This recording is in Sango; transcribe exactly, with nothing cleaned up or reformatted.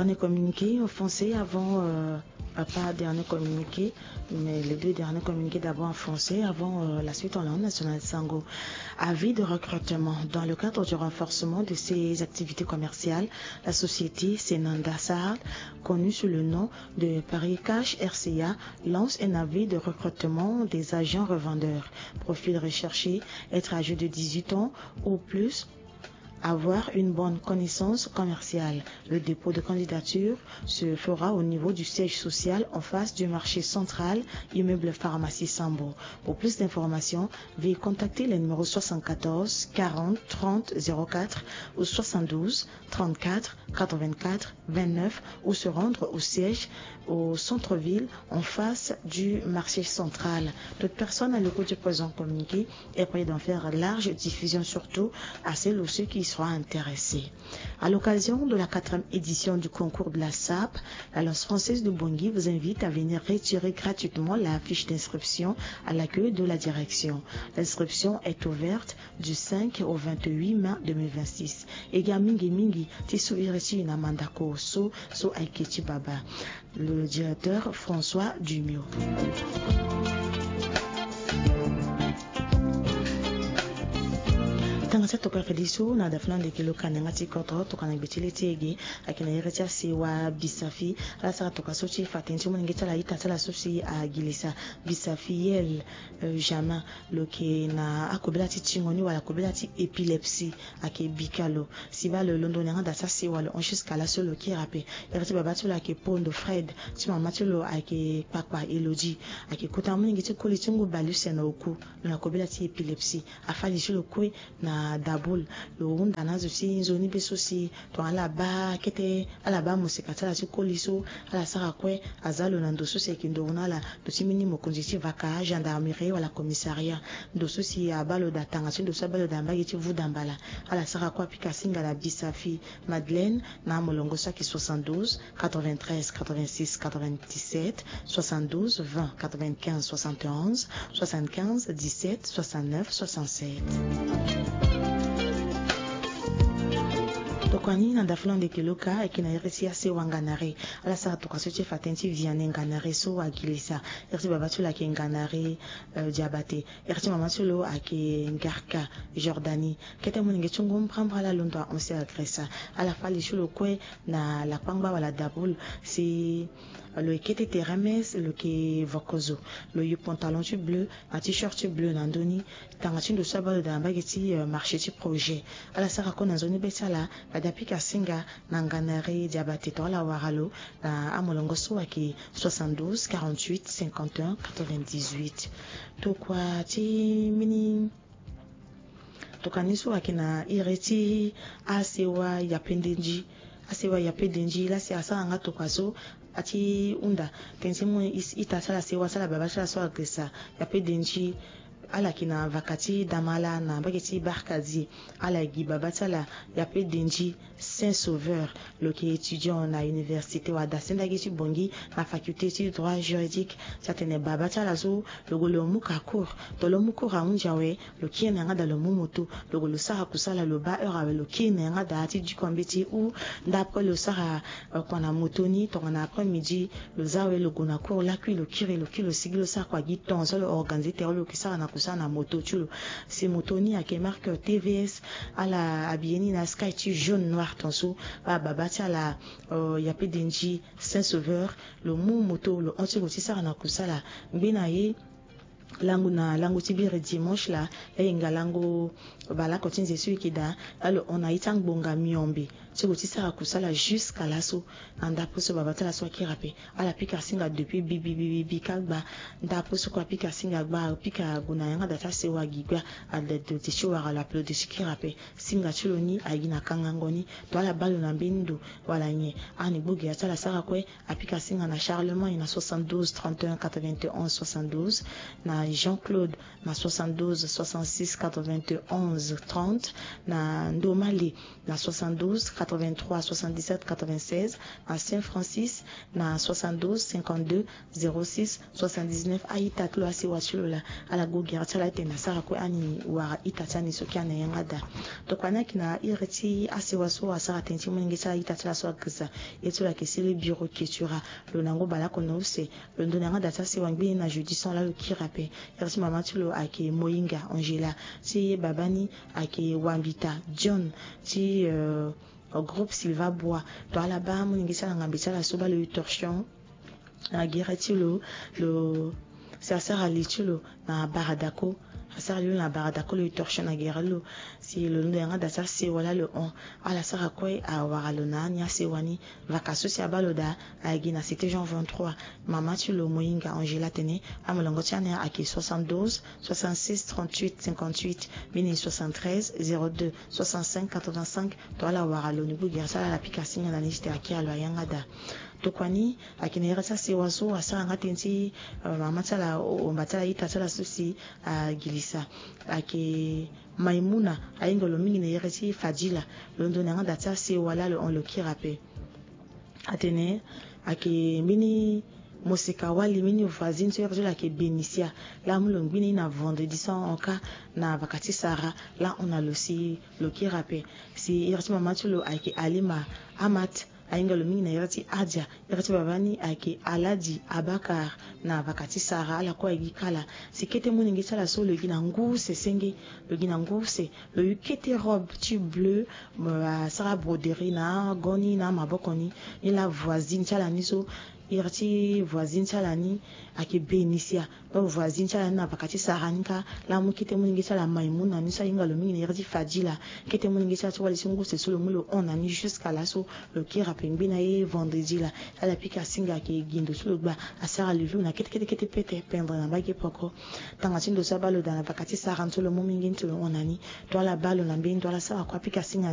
Dernier communiqué en français avant, euh, pas dernier communiqué, mais les deux derniers communiqués d'abord en français avant, euh, la suite en langue nationale. Sango. Avis de recrutement. Dans le cadre du renforcement de ses activités commerciales, la société Senanda Sahar, connue sous le nom de Paris Cash R C A, lance un avis de recrutement des agents revendeurs. Profil recherché, être âgé de dix-huit ans ou plus, avoir une bonne connaissance commerciale. Le dépôt de candidature se fera au niveau du siège social en face du marché central, immeuble Pharmacie Sambo. Pour plus d'informations, veuillez contacter les numéros soixante-quatorze quarante trente zéro quatre ou soixante-douze trente-quatre quatre-vingt-quatre vingt-neuf ou se rendre au siège au centre-ville en face du marché central. Toute personne à l'écoute du présent communiqué est priée d'en faire large diffusion, surtout à celles ou ceux qui y seront intéressés. À l'occasion de la quatrième édition du concours de la SAP, l'Alliance française de Bangui vous invite à venir retirer gratuitement la fiche d'inscription à l'accueil de la direction. L'inscription est ouverte du cinq au vingt-huit mai deux mille vingt-six. E ga mingi mingi ti so iri ti e na mandako so, so ayeke ti baba. Le directeur François Dumio. Tanga ti atokua fade so na dafa na ndeke lo ka na yanga ti kodro, tokua na gbe ti le ti e ge, ayeke na iri ti asewa Bisafi. Ala sara tokua so ti fa tënë ti molenge ti ala, ita ti ala so si agilisa, Bisafi Yel, euh, Jamin, lo yeke na akobela ti tingo ni wala kobela ti épilepsie, ayeke bika lo. Si baa lo londo na yanga da ti asewa lo hon jusqu'à laso lo kiri ape. Iri ti baba ti lo ayeke Pondo Fred, ti mama ti lo ayeke Kpakpa Elodie. Ayeke kota molenge ti koli ti ngu bale use na oku, lo na kobela ti épilepsie. Afâ li ti lo kue na daboul. Lo hunda na azo ti nzoni be so si tongana ala baa kete, ala baa moseka ti ala ti koli so, ala sara kue, aza lo na ndo so si ayeke nduru na ala, ndo ti mbeni mokonzi ti vaka, gendarmerie wala commissariat. Ndo so si abaa lo daa tanga ti ndo so abaa lo daa mbage ti vuda mbala. Ala sara kue apika singa na Bisafi Madeleine na amolongo so ayeke soixante-douze quatre-vingt-treize quatre-vingt-six quatre-vingt-dix-sept, soixante-douze vingt quatre-vingt-quinze soixante et onze, soixante-quinze dix-sept soixante-neuf soixante-sept. Tokua ni na ndafula ndeke lo ka, ayeke na iri ti asewa Nganare. Ala sara tokua so ti fa tënë ti Vianney Nganare so agilisa. Iri ti baba ti lo ayeke Nganare, euh, Diabate. Iri ti mama ti lo ayeke Ngarka Jordanie. Kete molenge ti ngu mbrambra ala londo ahon si agresa. Ala fâ li ti lo kue na lakpangba wala daboul si lo yeke kete tere mes, lo yeke vokozo. Lo yu pantalon ti bleu na t-shirt ti bleu na ndö ni. Tanga ti ndo so abaa lo daa na mbage ti, euh, marché ti Projet. Ala sara kue na nzoni be ti ala, fade apika singa na Nganare Diabate, tongana ala wara lo na amolongo so ayeke soixante-douze quarante-huit cinquante et un quatre-vingt-dix-huit. Tokua ti mbeni tokani so ayeke na iri ti asewa Yapendenji. Asewa Yapendenji laa si asara nga tokua so, ati hunda tënë ti mu ita ti ala, sewa ti ala, baba ti ala so agresa. Yapendenji, ala yeke na vaka ti damala na mbage ti Barkazi. Ala gi baba ti ala Yapendenji Saint Sauveur. Lo yeke étudiant na université wala dasendagi ti Bangui na faculté ti droit juridique. Ti atene baba ti ala so lo gue lo mu ka cours. To lo mu cours ahunzi awe, lo kiri na yanga daa lo mu moto. Lo gue lo sara kusala, lo baa heure awe, lo kiri na yanga daa ti diko mbeti ou ndapre lo sara, euh, kua na moto ni tongana après midi. Lo za awe, lo gue na cours lakui, lo kiri, lo kiri, lo sigi, lo sara kua gi ton so lo organiser tere lo yeke sara na kusala na moto ti lo. Si moto ni ayeke marque T V S, ala habillé ni na sky ti jaune noir ton so. Baa baba ti ala, euh, Yapendenji Saint Sauveur, lo mu moto, lo hon ti gue ti sara na kusala. Ngbene aye, lango na lango ti biri dimanche laa, la hinga lango bale oko ti nze so e yeke daa, la lo hon na ye ti angbonga miombe ti gue ti sara kusala jusqu'à laso. Na ndapre so baba ti ala so akiri ape, ala pika singa depuis bibi bibi bibi kagba. Ndapre so kue apika singa gba, apika gue na yanga daa ti asewa gi gba. Ade ti wara lo ape, lo de ti kiri ape. Singa ti lo ni aye na kangango ni. To ala baa lo na mbeni ndo wala nyen, ani gbu gi ya ti ala sara kue. Apika singa na Charlemagne na soixante-douze trente et un quatre-vingt-onze soixante-douze, na Jean-Claude na soixante-douze soixante-six quatre-vingt-onze trente, na Ndomali na soixante-douze quatre-vingt-trois soixante-dix-sept quatre-vingt-seize, na Saint-Francis na soixante-douze cinquante-deux zéro six soixante-dix-neuf. A-ita ti lo, asewa ti lo laa, ala gue gere ti ala ti tene asara kue ani wara ita ti ani so kiri na yanga daa. Tokua ni ayeke na iri ti asewa so asara tënë ti molenge ti ala, ita ti ala so agirisa. Ye ti lo ayeke sili bureau ketura. Lo na ngu baleoko na use. Lo ndo na yanga daa ti asewa ngbeni na jeudi so laa lo kiri ape. Iri ti mama ti lo ayeke Moyinga Angela, ti baba ni ayeke Wambita John, ti, euh, groupe Silva Bois. To ala baa molenge ti ala, ngambe ti ala so baa lo yu torchon na gere ti lo. Lo si asara li ti lo na baradako. Asara li lo na baradako, lo yu torchon na gere ti lo. Si lo londo yanga daa ti asewa laa lo hon. Ala sara kue awara lo na ani asewa ni. Vaka so si abaa lo daa ayeke gi na cité Jean vingt-trois. Mama ti lo Moyinga Angela atene amolongo ti ani ayeke soixante-douze soixante-six trente-huit cinquante-huit, mbeni soixante-treize zéro deux soixante-cinq quatre-vingt-cinq. To ala wara lo ni gue gere ti ala, ala pika singa na ni ti tene akiri lo na yanga daa. Tokua ni ayeke na iri ti asewa so asara nga tënë ti, euh, mama ti ala, omba ti ala, ita ti ala so si agirisa. Ayeke Maimouna, ahinga lo mingi na iri ti Fadila. Lo ndo na yanga daa ti asewa laa lo hon, lo kiri ape. Atene ayeke mbeni moseka wali, mbeni voisine so iri ti lo ayeke Benicia. Laa amu lo ngbene na vendredi so ahon kâ na vaka ti sara laa ahon na lo si lo kiri ape. Si iri ti mama ti lo ayeke Alima Amat, ahinga lo mingi na iri ti Adia. Iri ti baba ni ayeke Aladi Abakar, na vaka ti sara ala kue aye gi kala. Si kete molenge ti ala so lo gi na ngu use senge, lo gi na ngu use, lo yu kete robe ti bleu, asara broderie na ago ni na amaboko ni. Ni laa voisine ti ala ni so, iri ti voisine ti ala ni ayeke Benicia. Donc voisine ti ala ni na vaka ti sara ni kâ, laa amu kete molenge ti ala Maimouna ni so ahinga lo mingi na iri ti Fadila. Kete molenge ti ala ti wali so ngu use so lo mu lo hon na ni jusqu'à laso. Lo kiri ape ngbene aye vendredi laa. Ala pika singa ayeke gi ndo so lo gba, asara li lo na kete kete kete pete pendre na mbage peko. Tanga ti ndo so abaa lo daa na vaka ti sara ni so lo mu mingi ni ti lo hon na ni. To ala baa lo na mbeni ndo, ala sara kue apika singa